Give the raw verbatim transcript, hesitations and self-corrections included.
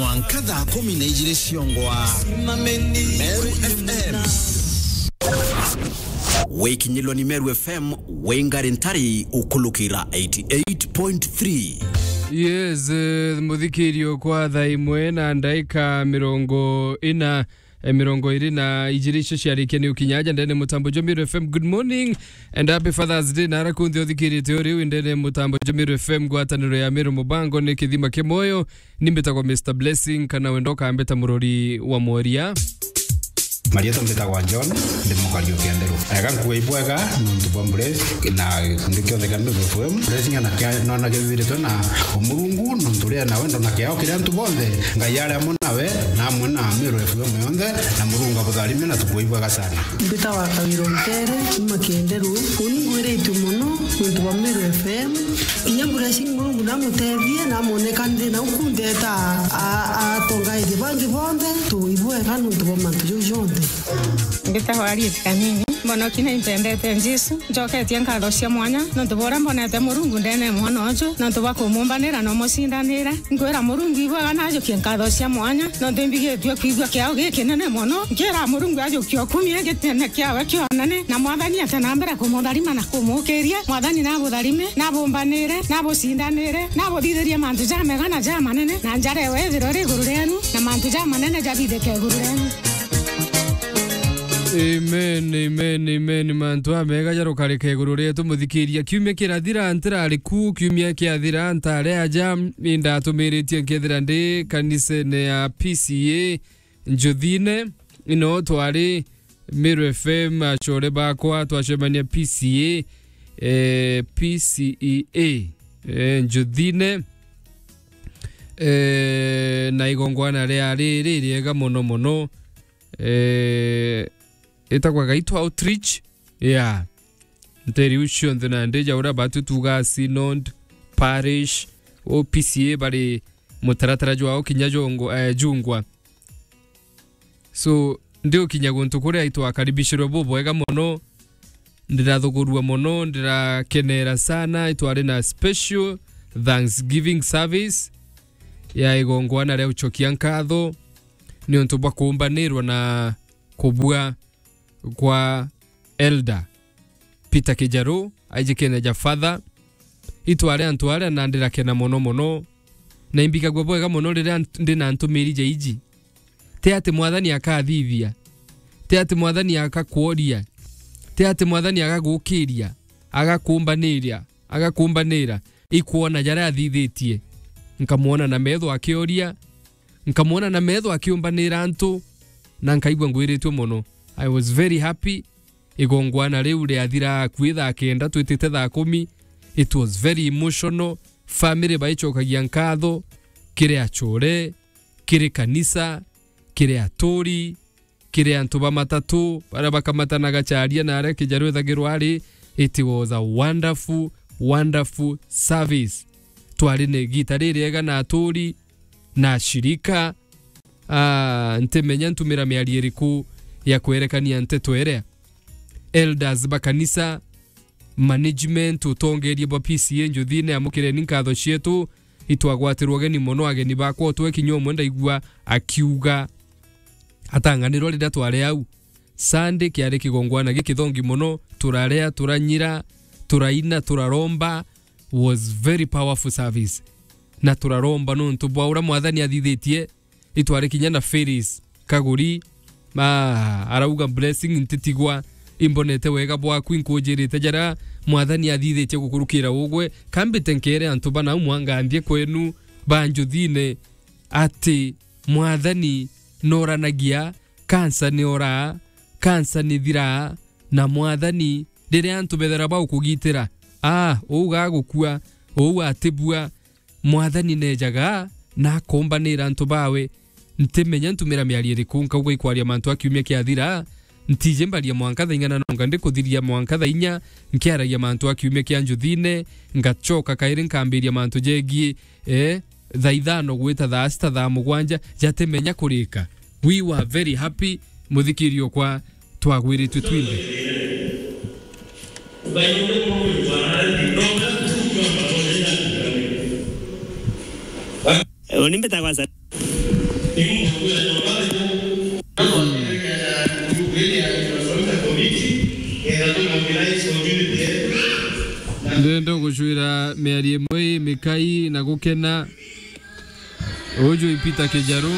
Mwanka thaa kumi na ijiri ciongwa. Meru F M. Wikinyilwa ni Meru F M, wingari ntari ukulukira eighty eight point three. Yes, eh, muthikirio kwa thaa imwe na ndaika mirongo ina, eh, mirongo iri na ijiri icio ciarikia ni ukinya aja ndene mutambo jwa Meru F M. Good morning and happy Father's Day. Nara kunthe uthikirite uri u ndene mutambo jwa Meru F M, ngwataniro ya Meru Mubango ni kithima kia moyo. Ni mbitagwa Mister Blessing, kana wenda ukambita murori wa mworia. Marietwa mbitagwa John, ndi mukari o Kienderu. Ega nkuga ibwega nontu bwa Bless na gikundi kionthe kia Meru F M. Blessing ana kia nona kibiritwe na Umurungu nontu ria nawe ndona kiao kiria antu bonthe. Ngai ari amwe nawe na amwe na Meru F M yonthe, na Murungu abutharime na tukuga ibwega sana. Mbitagwa Kawira Ntere, kuma Kienderu. Uni ngwiritwe mono nontu bwa Meru F M. Kinya Blessing Murungu namutethie, namoneka nthi na uku ntheta a, a, atongaithia bangi bonthe, tuibwega nontu bwa mantu jau jonthe. Mbitagwa Harriet Kanini, mbonoki na impendete Jesu, njoketie nkatho cia mwanya, nontu bwa uria mbonete Murungu ndene mwana uju, nontu bwa kumumbanira na umucindanira. Nkwira Murungu ibwega najukie nkatho cia mwanya, nontu imbigitue kwigua kiao gikinene mono. Nkira Murungu ajukie ukumie gitene kiawe kionene, na Mwathani ate na mbere kumutharima na kumukiria. Mwathani nabutharime, nabumbanire, nabucindanire, nabuthithirie mantu jamega na jamanene, na njara ewe ithirwe ri iguru rienu, na mantu jamanene jathithike iguru rienu. Amen, amen, amen. Mantu amega jarukarika iguru rietu, muthikiria. Kiumia kirathira ntirari ku, kiumia kiathira ntari aja, indatumiritie nkethira ndi kanisene ya P C A Njuthine. Ino twari Meru F M, acore bakwa, twacemania P C A, eh, P C E A, eh, Njuthine. Eh, na igongwana riari ririega mono mono. Eh, itagwa Gaitwa Outreach. Yeah. Nteri iu cionthe nandi ja uria batu tuga synod, parish, O P C A bari mutaratara jwao kinya jongo-, eh, jungwa. So, ndi ukinya guntu kuria itwakaribishirwe bubwega mono, ndirathugurua mono, ndirakenera sana. Itwari na special thanksgiving service ya igongwana ria ucokia nkatho niuntu bwa kuumbanirwa na kubua kwa Elder Peter Kijaru, aijikene ja Father. Itwari antu aria na ndirakena mono mono, na imbigagua bwega mono riria nt-, ndi na ntumiri ja iji. Ti ati Mwathani akathithia, ti ati Mwathani agakworia, ti ati Mwathani agagukiria, agakumbaniria, agakumbanira. Ikwona jaria athithitie, nkamwona na metho akioria, nkamwona na metho akiumbanira antu, na nkaigua ngwiritue mono. I was very happy. Igongwana riu riathira akui thaa kenda, twitite thaa kumi. It was very emotional. Family baicokagia nkatho kiri acore, kiri kanisa, kiri aturi, kiri antu ba matatu baria bakamatanaga Charia na aria Kijaru ethagirwa ari. It was a wonderful, wonderful service. Twari na igita ririega na aturi na ashirika. Ah, ntimenya ntumira miario iriku ya kwerekania nteto iria. Elders ba kanisa, management, utongeria bwa P C A Njuthine, amukireni nkatho cietu. Itwagwatirwe ugeni mono, ageni bakwa, utwe kinya umwe ndaigua akiuga atanganirwa riria twari au. Sunday kiari kigongwana gikithongi mono, turaria, turanyira, turaina, turaromba. Was very powerful service. Na turaromba nontu bwa uria Mwathani athithitie. Itwari kinya na Phyllis Kaguri, ma, arauga, "Blessing, ntitigwa, imbonete wega bwaku, inkunjirite jaria Mwathani athithitie gukurukira ugwe, kambite nkere antu bana umwe anganthie kwenu ba Njuthine ati Mwathani noranagia, kansa ni oraa, kansa ni thiraa, na Mwathani, riria antu bethera baukugitira, aa, uu gagukua, uu atibua, Mwathani nejaga na akombanira antu bawe. Ntimenya ntumira miario iriku, nkauga ikwaria mantu a kiumia kiathira. Ntiji mbaria mwanka thaa ing'ana, nonga ndikuthiria mwanka thaa inya nkiaragia mantu a kiumia kia Njuthine, ngacoka kairi nkambiria mantu jegie, eh, thaa ithano gwita thaa sita, thaa mugwanja, jatimenya kurika. We were very happy, muthikiri okwa, twagwiritwe twinthe. Uni mbitagwa Sa- Ndenda gucwira miario imwe imikai na gukena. Uju i Peter Kijaru.